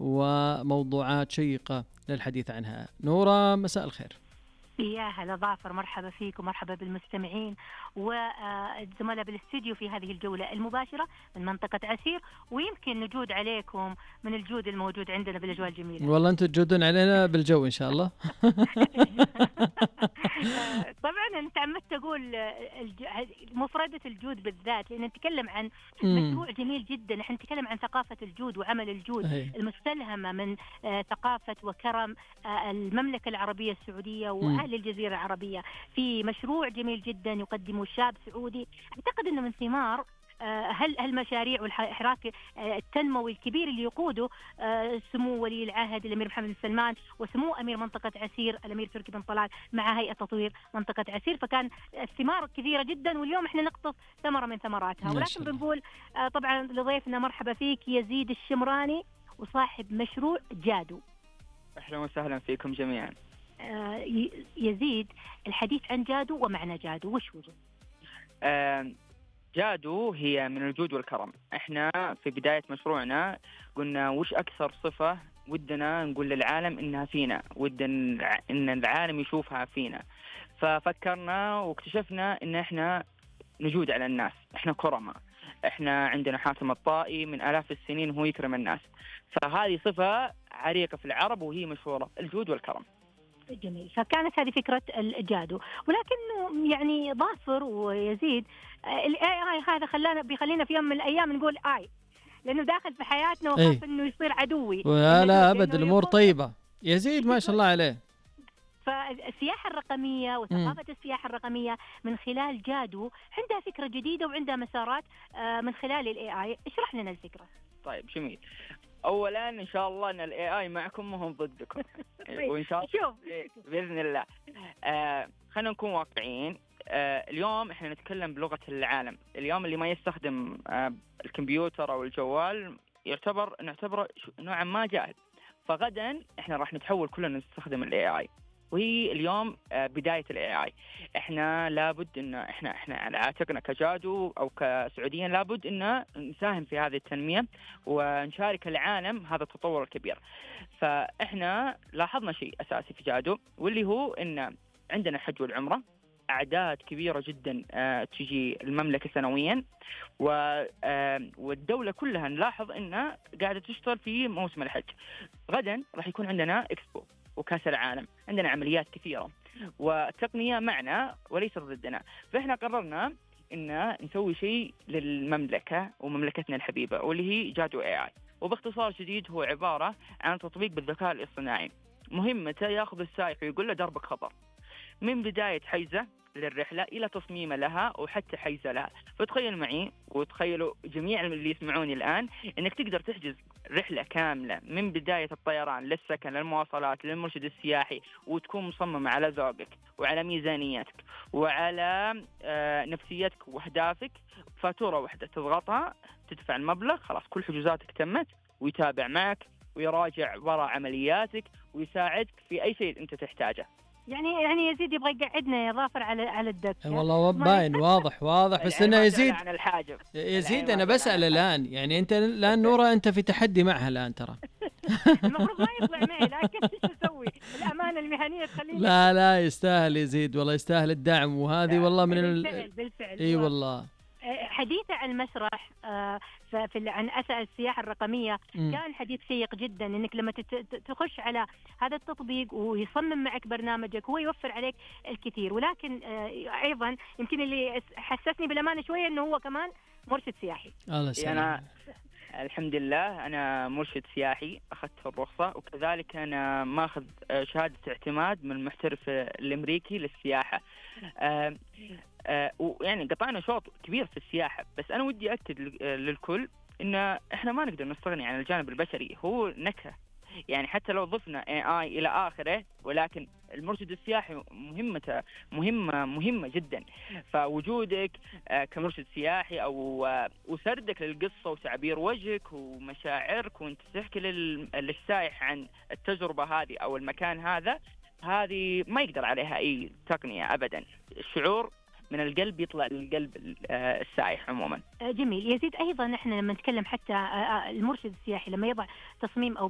وموضوعات شيقة للحديث عنها. نورة، مساء الخير. يا هلا ظافر، مرحبا فيك ومرحبا بالمستمعين والزملاء بالاستديو في هذه الجولة المباشرة من منطقة عسير، ويمكن نجود عليكم من الجود الموجود عندنا بالأجواء الجميلة. والله أنتم تجودون علينا بالجو إن شاء الله. طبعا أنت عمدت تقول مفردة الجود بالذات، لأن نتكلم عن مشروع جميل جدا. احنا نتكلم عن ثقافة الجود وعمل الجود المستلهمة من ثقافة وكرم المملكة العربية السعودية وأهل الجزيرة العربية، في مشروع جميل جدا يقدمه شاب سعودي. أعتقد أنه من ثمار هالمشاريع والحراك التنموي الكبير اللي يقوده سمو ولي العهد الأمير محمد بن سلمان وسمو أمير منطقة عسير الأمير تركي بن طلال مع هيئة تطوير منطقة عسير. فكان الثمار كثيرة جدا، واليوم احنا نقطف ثمرة من ثمراتها. ولكن بنقول طبعا لضيفنا مرحبا فيك يزيد الشمراني وصاحب مشروع جادو. أهلا وسهلا فيكم جميعا. يزيد، الحديث عن جادو ومعنى جادو وش هو؟ جادو هي من الجود والكرم. احنا في بداية مشروعنا قلنا وش أكثر صفة ودنا نقول للعالم إنها فينا، ودنا إن العالم يشوفها فينا. ففكرنا واكتشفنا إن احنا نجود على الناس، احنا كرماء، احنا عندنا حاتم الطائي من آلاف السنين وهو يكرم الناس. فهذه صفة عريقة في العرب وهي مشهورة، الجود والكرم. جميل. فكانت هذه فكرة الجادو، ولكنه يعني ظافر ويزيد الاي هذا بيخلينا في يوم من الايام نقول لانه داخل في حياتنا وخاف انه يصير عدوي. لا ابد، الامور طيبة. يزيد ما شاء الله عليه. فالسياحة الرقمية وثقافة السياحة الرقمية من خلال جادو عندها فكرة جديدة وعندها مسارات من خلال الاي. اشرح لنا الفكرة. طيب جميل. اولا ان شاء الله ان الاي اي معكم وهم ضدكم. وان شاء الله باذن الله. خلينا نكون واقعيين. اليوم احنا نتكلم بلغة العالم. اليوم اللي ما يستخدم الكمبيوتر او الجوال نعتبره نوعا ما جاهل. فغدا احنا راح نتحول كلنا نستخدم الاي اي، وهي اليوم بداية الاي اي. احنا لابد ان احنا على عاتقنا كجادو او كسعوديين لابد ان نساهم في هذه التنمية ونشارك العالم هذا التطور الكبير. فاحنا لاحظنا شيء اساسي في جادو، واللي هو ان عندنا الحج والعمرة، أعداد كبيرة جدا تجي المملكة سنويا، والدولة كلها نلاحظ أنها قاعدة تشتغل في موسم الحج. غدا راح يكون عندنا إكسبو وكأس العالم، عندنا عمليات كثيرة والتقنية معنا وليس ضدنا. فإحنا قررنا أن نسوي شيء للمملكة ومملكتنا الحبيبة، واللي هي جادو AI. وباختصار شديد هو عبارة عن تطبيق بالذكاء الاصطناعي، مهمته يأخذ السائق ويقول له دربك خطر، من بداية حيزة للرحلة إلى تصميم لها وحتى حيزة لها. فتخيل معي وتخيلوا جميع اللي يسمعوني الآن أنك تقدر تحجز رحلة كاملة من بداية الطيران للسكن للمواصلات للمرشد السياحي، وتكون مصممة على ذوقك وعلى ميزانيتك وعلى نفسيتك وأهدافك. فاتورة واحدة تضغطها تدفع المبلغ، خلاص كل حجوزاتك تمت، ويتابع معك ويراجع وراء عملياتك ويساعدك في أي شيء أنت تحتاجه. يعني يزيد يبغى يقعدنا يا ظافر على الدكة. والله باين واضح بس انه يزيد عن الحاجب. يزيد انا بسأل الآن، يعني انت الآن نورة انت في تحدي معها الآن ترى. المفروض ما يطلع معي، لكن ايش اسوي؟ الامانة المهنية تخليني. لا يستاهل يزيد، والله يستاهل الدعم. وهذه والله من بالفعل. اي والله. حديثه عن المسرح عن أثر السياحة الرقمية كان حديث شيق جدا، إنك لما تخش على هذا التطبيق ويصمم معك برنامجك هو يوفر عليك الكثير. ولكن أيضا يمكن اللي حسسني بالأمانة شوية إنه هو كمان مرشد سياحي. أنا الحمد لله أنا مرشد سياحي، أخذت الرخصة، وكذلك أنا ماخذ شهادة اعتماد من المحترف الأمريكي للسياحة. ويعني قطعنا شوط كبير في السياحة. بس أنا ودي أكد للكل إن إحنا ما نقدر نستغني عن الجانب البشري، هو نكهة. يعني حتى لو ضفنا AI إلى آخره، ولكن المرشد السياحي مهمته مهمة جدا. فوجودك كمرشد سياحي أو وسردك للقصة وتعبير وجهك ومشاعرك وانت تحكي للسائح عن التجربة هذه أو المكان هذه ما يقدر عليها أي تقنية أبدا. الشعور من القلب يطلع للقلب السائح عموما. جميل. يزيد أيضا احنا لما نتكلم حتى المرشد السياحي لما يضع تصميم أو